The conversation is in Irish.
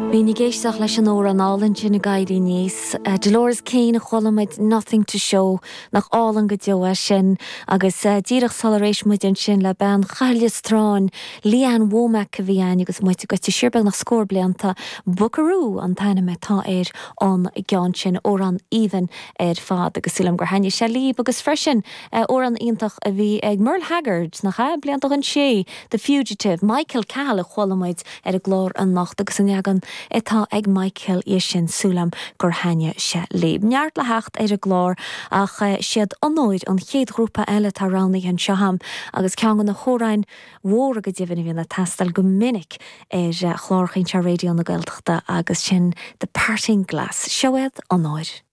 Bhínn ag éisteacht leis an amhrán álainn sin ag éirí aníos. Dolores Keane a chuala muid Nothing to Show, nach álainn go deo é sin. Agus díreach sular éist muid ansin le bean Chathail Lios Turáin, Lee Ann Womack a bhí ann agus muid ag goil siar beagnach scór blianta. Buckaroo an t-ainm atá ar an gceann sin, amhrán aoibhinn ar fad agus súil agam gur thaitnigh sé libh agus freisin amhrán iontach a bhí ag Merle Haggard, nach ea? Blianta ó shin sé The Fugitive, Michael Cahill a chuala muid ar an gclár anocht agus an leagan atá ag Michael dhe sin, súil agam gur thaitnigh sé libh. Neart le theacht ar an gclár ach siad Onóir an chéad ghrúpa eile atá roghnaithe anseo agam agus ceann de na hamhráin mhóra go deimhin a bhíonn ag teastáil go minic ar chláracha anseo Raidió na Gaeltachta agus sin The Parting Glass. Seo iad Onóir.